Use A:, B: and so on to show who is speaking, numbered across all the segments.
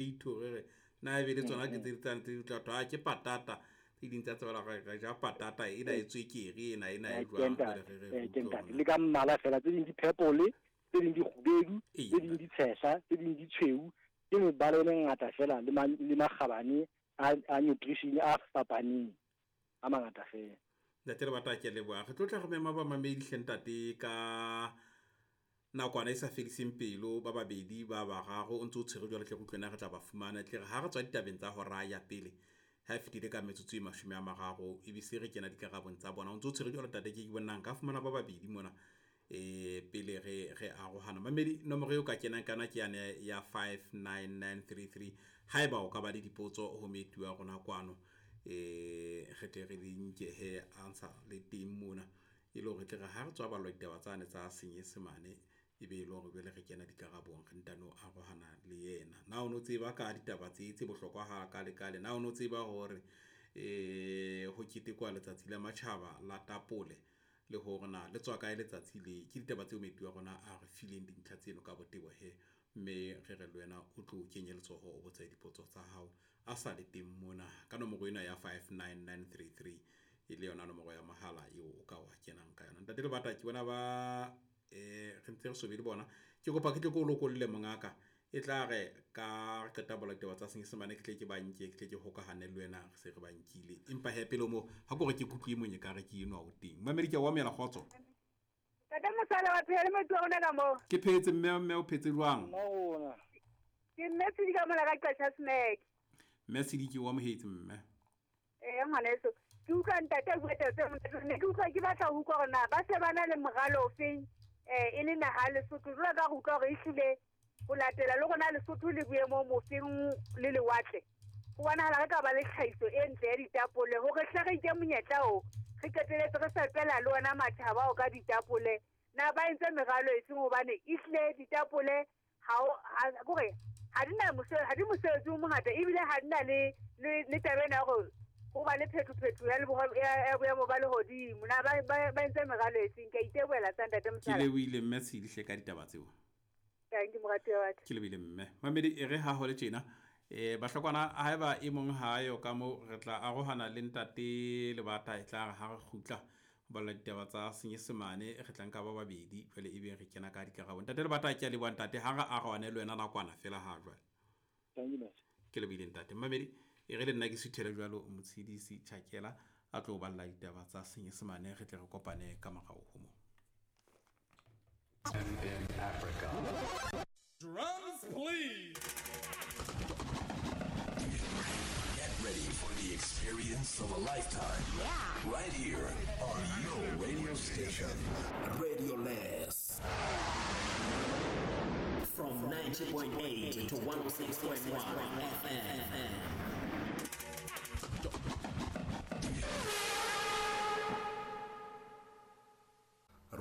A: Potato re re na ebe le tsona ke tse tsane tse tla thwa ke patata, tse ding tsa tsebela re re ja patata ena e tswekere ena ena e jwang, jwale re re
B: Ke ntate, le ka mmala fela, tse ding di purple, tse ding di kgubedu, tse ding di tshehla, tse ding di tshweu. Ke mebala e mengata fela le le makgabane a nutrition a fapaneng a mangata fela.
A: Ntate le bata, ke leboha. Re tlo tla re mema bamamedi hle ntate ka nakwana e sa fediseng pelo, ba babedi ba bararo o ntse o tshwere jwale, tle re utlwe na re tla ba fumana. Tle re ha re tswa ditabeng tsa hora ya pele, ha e fetile ka metsotso e 30, e be se re kena dikarabong tsa bona. O ntse o tshwere jwalo ntate, ke bonang ka fumana ba babedi mona pele re arohana. Mamedi, nomoro eo ka kenang kana ke yane ya 59933, haeba o ka ba le dipotso ho moeti wa rona kwano, re tle re di nke he answer le teng mona, e le hore tle re ha re tswa ballwa ditaba tsane tsa Senyesemane, e be e le hore jwale re kena dikarabong, re ntano arohana le yena. Na o no tseba ka ditaba tse bohlokwa ha kale kale? Na o no tseba hore ho ketekwa letsatsi la matjhaba la tapole, le hore na le tswa kae letsatsi le? Ke ditaba tseo moeti wa rona a re fileng dintlha tseno ka botebo he, mme re re le wena o tlo kenye letsoho, o botse dipotso tsa hao a sa le teng mona ka nomoro ena ya 59933, e le yona nomoro ya mohala eo o ka wa kenang ka yona. Ntate Lebata, ke bona ba re ntse re sobe le bona, ke kopa ke tle ke o lokolle mongaka, e tla re ka re qeta bola ditaba tsa Senyesemane, ke tle ke ba nke, ke tle ke hokahane le wena, re se re ba nkile. Empa he pele mo ha ke hore ke kutlwe monye ka re ke enwa o teng. Mamedi, ke a o amohela, kgotso.
C: Tata Mosala, wa phela le moeti wa rona ka moo?
A: Ke phetse mme, mme o phetse jwang?
B: Mma rona.
C: Ke mme Tshidi ka mola ka Qasha Smack.
A: Mme Tshidi, ke o amohetse mme.
C: Ee, ngwaneso. Ke utlwa ntate a bua taba tse monate. Ne ke utlwa ke batla ho utlwa hore na ba se ba na le moralo ofeng, e le naha ya Lesotho. Jwalo ka re utlwa hore ehlile ho latela le rona Lesotho le boemong bofeng le lewatle, ho bonahala re ka ba le tlhahiso e ntle ya ditapole, hore hle re nke monyetla o re qeteletse re fepela le ona matjhaba ao ka ditapole. Na ba entse meralo e seng? Hobane ehlile ditapole ha o ha kore ha di na ha di mosebetsi o mongata, ebile ha di na le taba ena ya hore ho ba le phetho-phetho ya ya boemo ba lehodimo. Na ba entse meralo e seng? Ke a itebohela tsa ntate
A: Ke
C: Mosala.
A: lebohile mme Tshidi hle ka ditaba tseo.
C: Thank you, moratuwa wa ka.
A: Ke lebile mme. Mamedi, e re ha ho le tjena, bahlokwana, haeba e mong ha yo ka mo, re tla arohana le ntate Lebata, e tla re ha re kgutla ho balla ditaba tsa Senyesemane, re tla nka ba babedi jwale, ebe re kena ka dikarabo. Ntate Lebata, ke a leboha ntate, ha re arohane le wena nakwana fela ha jwale.
B: Thank you, Master.
A: Ke lebile ntate. Mamedi, e re le nna ke suthele jwalo Motshidisi Chakela a tlo balla ditaba tsa Senyesemane, re tle re kopane ka morao ho mo.
D: In Africa.
E: Drums, please.
D: Get ready for the experience of a lifetime. Yeah. Right here on your radio station.
F: Radio Les. From 90.8 to 106.1 FM.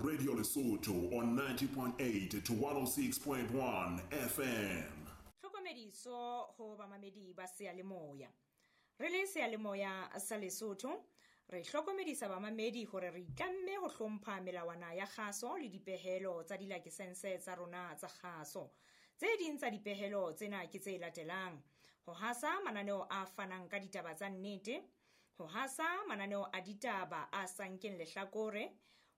G: Radio Lesotho on 90.8 to 106.1 FM.
H: Tlhokomediso ho bamamedi ba seyalemoya. Re le seyalemoya sa Lesotho, re hlokomedisa bamamedi hore re itlamme ho hlompha melawana ya kgaso le dipehelo tsa dilakesense tsa rona tsa kgaso. Tse ding tsa dipehelo tsena ke tse latelang: ho hasa mananeo a fanang ka ditaba tsa nnete, ho hasa mananeo a ditaba a sa nkeng lehlakore,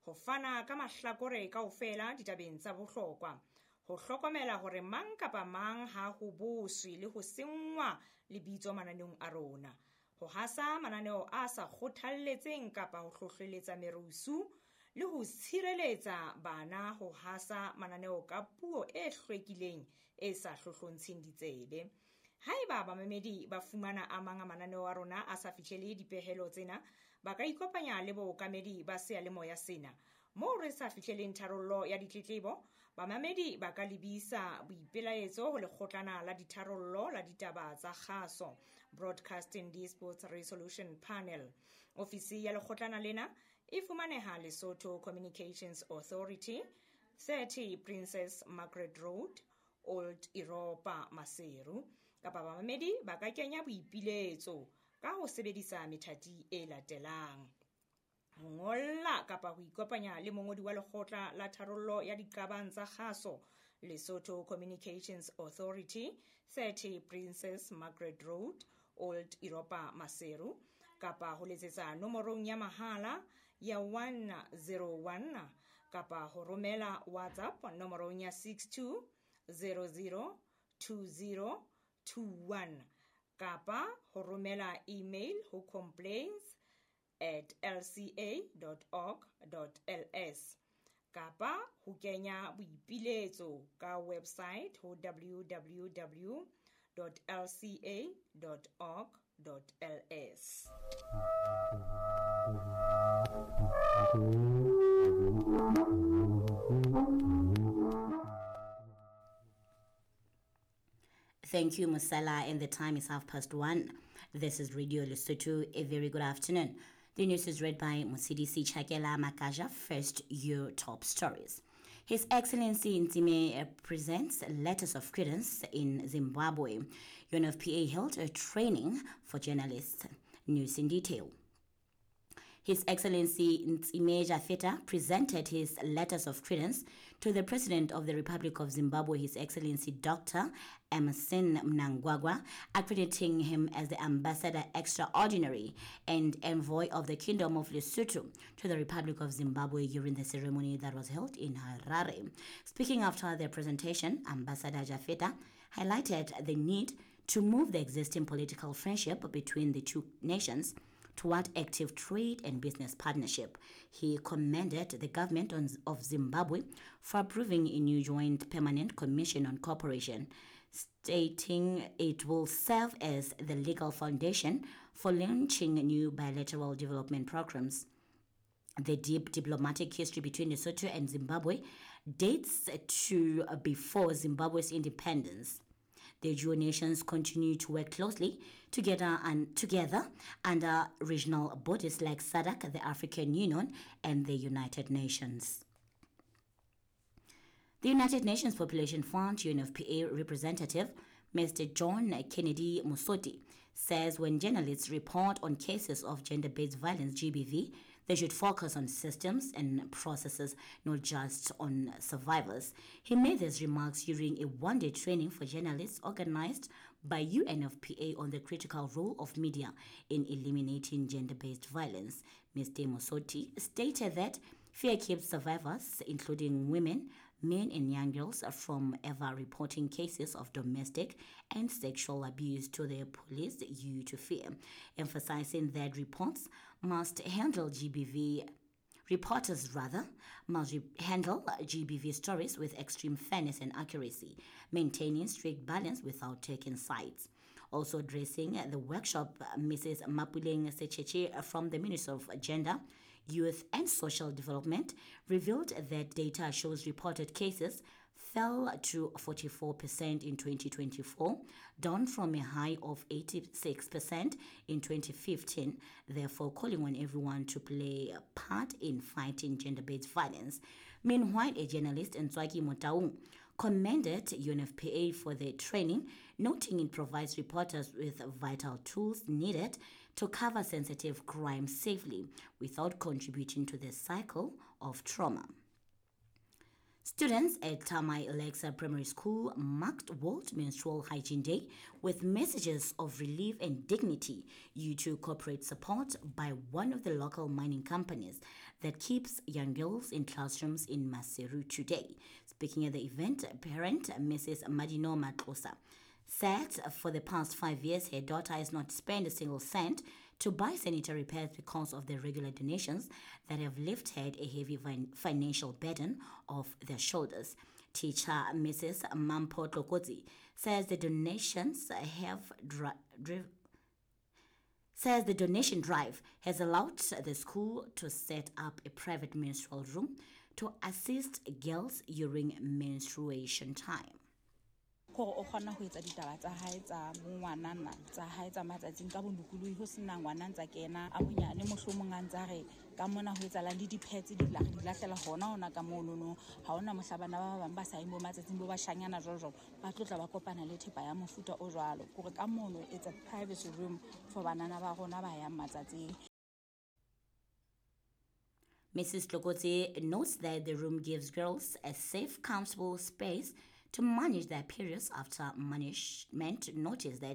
H: ho fana ka mahlakore kaofela ditabeng tsa bohlokwa, ho hlokomela hore mang kapa mang ha ho boswe le ho senngwa lebitso mananeong a rona, ho hasa mananeo a sa kgothalletseng kapa ho hlohleletsa merusu, le ho tshireletsa bana ho hasa mananeo ka puo e hlwekileng e sa hlohlontsheng ditsebe. Haeba bamamedi ba fumana a mang a mananeo a rona a sa fihlele dipehelo tsena, ba ka ikopanya le bookamedi ba seyalemoya sena. Moo re sa fihleleng tharollo ya ditletlebo, bamamedi ba ka lebisa boipelaetso ho lekgotlana la ditharollo la ditaba tsa kgaso, Broadcasting Disputes Resolution Panel. Ofisi ya lekgotlana lena e fumaneha Lesotho Communications Authority, 30 Princess Margaret Road, Old Europa, Maseru. Kapa bamamedi ba ka kenya boipiletso ka ho sebedisa methati e latelang: ho ngolla kapa ho ikopanya le mongodi wa lekgotla la tharollo ya diqabang tsa kgaso Lesotho Communications Authority, 30 Princess Margaret Road, Old Europa, Maseru, kapa ho letsetsa nomorong ya mahala ya 101, kapa ho romela WhatsApp nomorong ya 62 00 20 21, kapa ho romela email ho complaints@lca.org.ls, kapa ho kenya boipiletso ka website ho www.lca.org.ls.
I: Thank you, Musala, and the time is 1:30. This is Radio Lesotho. A very good afternoon. The news is read by Musidisi Chakela Makaja. First, your top stories. His Excellency Ntsime presents letters of credence in Zimbabwe. UNFPA held a training for journalists. News in detail. His Excellency Ntsime Jafeta presented his letters of credence to the President of the Republic of Zimbabwe, His Excellency Dr. Emmerson Mnangagwa, accrediting him as the Ambassador Extraordinary and Envoy of the Kingdom of Lesotho to the Republic of Zimbabwe during the ceremony that was held in Harare. Speaking after the presentation, Ambassador Jafeta highlighted the need to move the existing political friendship between the two nations toward active trade and business partnership. He commended the government of Zimbabwe for approving a new joint permanent commission on cooperation, stating it will serve as the legal foundation for launching new bilateral development programs. The deep diplomatic history between Lesotho and Zimbabwe dates to before Zimbabwe's independence. The dual nations continue to work closely together under regional bodies like SADC, the African Union, and the United Nations. The United Nations Population Fund, UNFPA representative, Mr. John Kennedy Musoti, says when journalists report on cases of gender-based violence, GBV, they should focus on systems and processes, not just on survivors. He made these remarks during a one-day training for journalists organized by UNFPA on the critical role of media in eliminating gender-based violence. Mr. Musoti stated that fear keeps survivors, including women, men and young girls, from ever reporting cases of domestic and sexual abuse to the police due to fear, emphasizing that reports must handle GBV Reporters, rather, must handle GBV stories with extreme fairness and accuracy, maintaining strict balance without taking sides. Also addressing the workshop, Mrs. Mapuleng Secheche from the Ministry of Gender, Youth and Social Development revealed that data shows reported cases fell to 44% in 2024, down from a high of 86% in 2015, therefore calling on everyone to play a part in fighting gender-based violence. Meanwhile, a journalist, Ntswaki Motaung, commended UNFPA for the training, noting it provides reporters with vital tools needed to cover sensitive crime safely without contributing to the cycle of trauma. Students at Tamai Alexa Primary School marked World Menstrual Hygiene Day with messages of relief and dignity due to corporate support by one of the local mining companies that keeps young girls in classrooms in Maseru today. Speaking at the event, parent Mrs. Madino Matlosa said for the past 5 years her daughter has not spent a single cent to buy sanitary pads because of the regular donations that have lifted a heavy financial burden off their shoulders. Teacher Mrs. Mampo Tlokotsi says the donations have says the donation drive has allowed the school to set up a private menstrual room to assist girls during menstruation time.
J: Gore o kgona ho etsa ditaba tsa hae tsa bongwanana tsa hae tsa matsatsing ka bolokolohi ho sena ngwana ntsa kena a monyane mohlomong a ntsa re ka mona ho etsalang le di-pads di lahlela hona ka monono ha hona mohla bana ba bang ba sa yeng bo matsatsing bo bashanyana jwalo jwalo ba tlotla ba kopana le thepa ya mofuta o jwalo kore ka mono it's a privacy room for banana ba rona ba yang matsatsing.
I: Mrs. Tlokotsi notes that the room gives girls a safe, comfortable space to manage their periods after management noticed that